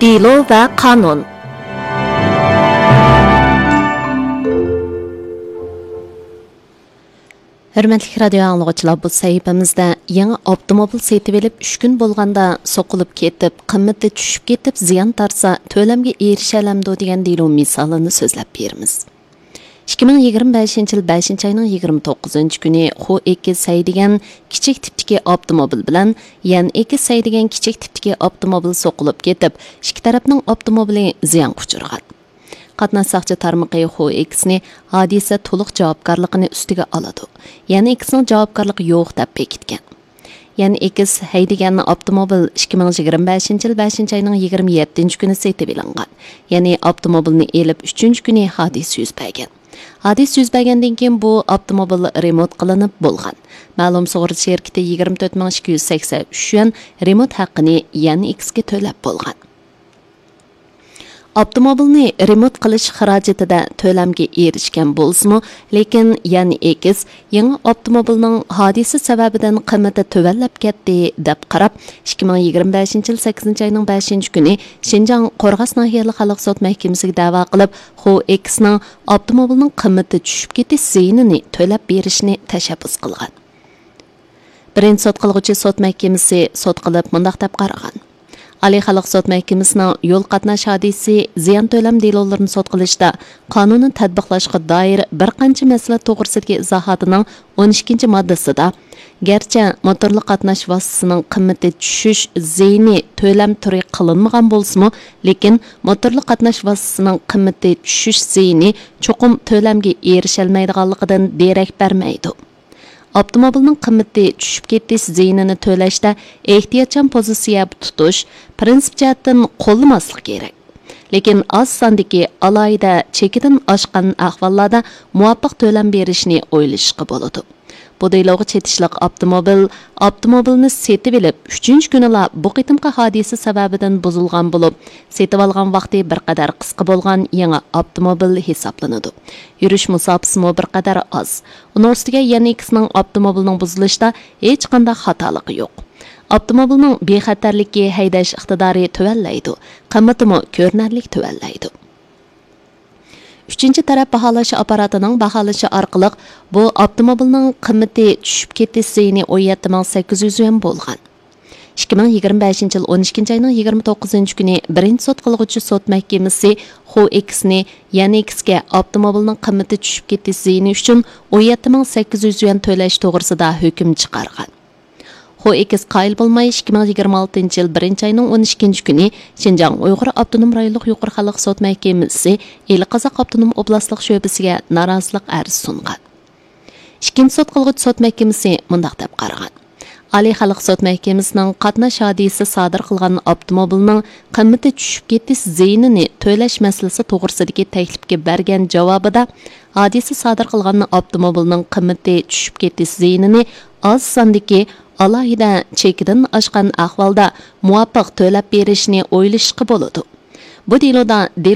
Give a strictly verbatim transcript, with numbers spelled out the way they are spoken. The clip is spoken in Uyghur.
دېلو ۋە قانۇن. ھۆرمەتلىك رادىيو ئاڭلىغۇچىلار، بۇ سەھىپىمىزدە يېڭى ئاپتوموبىل سېتىۋېلىپ ئۈچ كۈن بولغاندا سوقۇلۇپ كېتىپ، قىممىتى چۈشۈپ كېتىپ زىيان تارتسا، تۆلەمگە ئېرىشەلەمدۇ دېگەن دېلو مىسالىنى سۆزلەپ بېرىمىز. ئىككى مىڭ يىگىرمە بەشىنچى يىل بەشىنچى ئاينىڭ يىگىرمە توققۇزىنچى كۈنى خو ئېكس ھەيدىگەن كىچىك تىپتىكى ئاپتوموبىل بىلەن يەن ئېكس ھەيدىگەن كىچىك تىپتىكى ئاپتوموبىل سوقۇلۇپ كېتىپ، ئىككى تەرەپنىڭ ئاپتوموبىلى زىيانغا ئۇچرىغان. قاتناش ساقچى تارمىقى خو ئېكسنى ھادىسە تولۇق جاۋابكارلىقىنى ئۈستىگە ئالىدۇ، يەن ئېكسنىڭ جاۋابكارلىقى يوق دەپ بېكىتكەن. يەنى ئېكس ھەيدىگەن ئاپتوموبىل ئىككى مىڭ يىگىرمە بەشىنچى يىل بەشىنچى ئاينىڭ يىگىرمە يەتتىنچى كۈنى سېتىۋېلىنغان. يەنى ئاپتوموبىلنى ئېلىپ ئۈچىنچى كۈنى ھادىسە يۈز بەرگەن. ھادىسە يۈز بەرگەندىن كېيىن بۇ ئاپتوموبىل رېمونت قىلىنىپ بولغان. مەلۇم سۇغۇرتا شىركىتى يىگىرمە تۆت مىڭ ئىككى يۈز سەكسەن ئۈچ يۈەن رېمونت ھەققىنى يەنى ئېكسكە تۆلەپ بولغان. ئاپتوموبىلنى رېمونت قىلىش خىراجىتىدە تۆلەمگە ئېرىشكەن بولسىمۇ، لېكىن يەنى ئېكس يېڭى ئاپتوموبىلنىڭ ھادىسە سەۋەبىدىن قىممىتى تۆۋەنلەپ كەتتى، دەپ قاراپ، ئىككى مىڭ يىگىرمە بەشىنچى يىل سەككىزىنچى ئاينىڭ بەشىنچى كۈنى شىنجاڭ قورغاس ناھىيەلىك خەلق سوت مەھكىمىسىگە دەۋا قىلىپ، خو ئېكسنىڭ ئاپتوموبىلنىڭ قىممىتى چۈشۈپ كېتىش زىيىنىنى تۆلەپ بېرىشىنى تەشەببۇس قىلغان. بىرىنچى سوت قىلغۇچى سوت مەھكىمىسى سوت قىلىپ مۇنداق دەپ قارىغان: ئالىي خەلق سوت مەھكىمىسىنىڭ يول قاتناش ھادىسىسى زىيان تۆلەم دېلولىرىنى سوت قىلىشتا قانۇننى تەتبىقلاشقا دائىر بىر قانچە مەسىلە توغرىسىدىكى ئىزاھاتىنىڭ ئون ئىككىنچى ماددىسىدا، گەرچە موتورلۇق قاتناش ۋاسىتىسىنىڭ قىممىتى چۈشۈش زىيىنى تۆلەم تۈرى قىلىنمىغان بولسىمۇ، لېكىن موتورلۇق قاتناش ۋاسىتىسىنىڭ قىممىتى چۈشۈش زىيىنى چوقۇم تۆلەمگە ئېرىشەلمەيدىغانلىقىدىن دېرەك بەرمەيدۇ. ئاپتوموبىلنىڭ قىممىتى چۈشۈپ كېتىش زىيىنىنى تۆلەشتە ئېھتىياتچان پوزىتسىيە تۇتۇش پىرىنسىپ جەھەتتىن قوللىماسلىق كېرەك. لېكىن ئاز ساندىكى ئالاھىدە چېكىدىن ئاشقان ئەھۋاللاردا مۇۋاپىق تۆلەم بېرىشنى ئويلىشىشقا بولىدۇ. بۇ دېلوغا چېتىشلىق ئاپتوموبىل ئاپتوموبىلنى سېتىۋېلىپ ئۈچىنچى كۈنىلا بۇ قېتىمقى ھادىسە سەۋەبىدىن بۇزۇلغان بولۇپ، سېتىۋالغان ۋاقتى بىر قەدەر قىسقا بولغان يېڭى ئاپتوموبىل ھېسابلىنىدۇ. يۈرۈش مۇساپىسىمۇ بىر قەدەر ئاز. ئۇنىڭ ئۈستىگە يەنى ئېكسنىڭ ئاپتوموبىلنىڭ بۇزۇلۇشىدا ھېچقانداق خاتالىقى يوق. ئاپتوموبىلنىڭ بىخەتەرلىكى، ھەيدەش ئىقتىدارى تۆۋەنلەيدۇ، قىممىتىمۇ كۆرۈنەرلىك تۆۋەنلەيدۇ. ئۈچىنچى تەرەپ باھالاش ئاپپاراتىنىڭ باھالىشى ئارقىلىق بۇ ئاپتوموبىلنىڭ قىممىتى چۈشۈپ كېتىش زىيىنى ئون يەتتە مىڭ سەككىز يۈز يۈەن بولغان. ئىككى مىڭ يىگىرمە بەشىنچى يىل ئون ئىككىنچى ئاينىڭ يىگىرمە توققۇزىنچى كۈنى بىرىنچى سوت قىلغۇچى سوت مەھكىمىسى خو ئېكسنى يەنى ئېكسكە ئاپتوموبىلنىڭ قىممىتى چۈشۈپ كېتىش زىيىنى ئۈچۈن ئون يەتتە مىڭ سەككىز يۈز يۈەن تۆلەش توغرىسىدا ھۆكۈم چىقارغان. خو ئېكس قايىل بولماي، ئىككى مىڭ يىگىرمە ئالتىنچى يىل بىرىنچى ئاينىڭ ئون ئىككىنچى كۈنى شىنجاڭ ئۇيغۇر ئاپتونوم رايونلۇق يۇقىرى خەلق سوت مەھكىمىسى ئىلى قازاق ئاپتونوم ئوبلاستلىق شۆبىسىگە نارازىلىق ئەرزى سۇنغان. ئىككىنچى سوت قىلغۇچى سوت مەھكىمىسى مۇنداق دەپ قارىغان: ئالىي خەلق سوت مەھكىمىسىنىڭ قاتناش ھادىسىسى سادىر قىلغان ئاپتوموبىلنىڭ قىممىتى چۈشۈپ كېتىش زىيىنىنى تۆلەش مەسىلىسى توغرىسىدىكى تەكلىپكە بەرگەن جاۋابىدا، ھادىسە سادىر قىلغان ئاپتوموبىلنىڭ قىممىتى چۈشۈپ كېتىش زىيىنىنى ئاز ساندىكى ئالاھىدە چېكىدىن ئاشقان ئەھۋالدا مۇۋاپىق تۆلەپ بېرىشنى ئويلىشىشقا بولىدۇ. بۇ دېلودا دېلو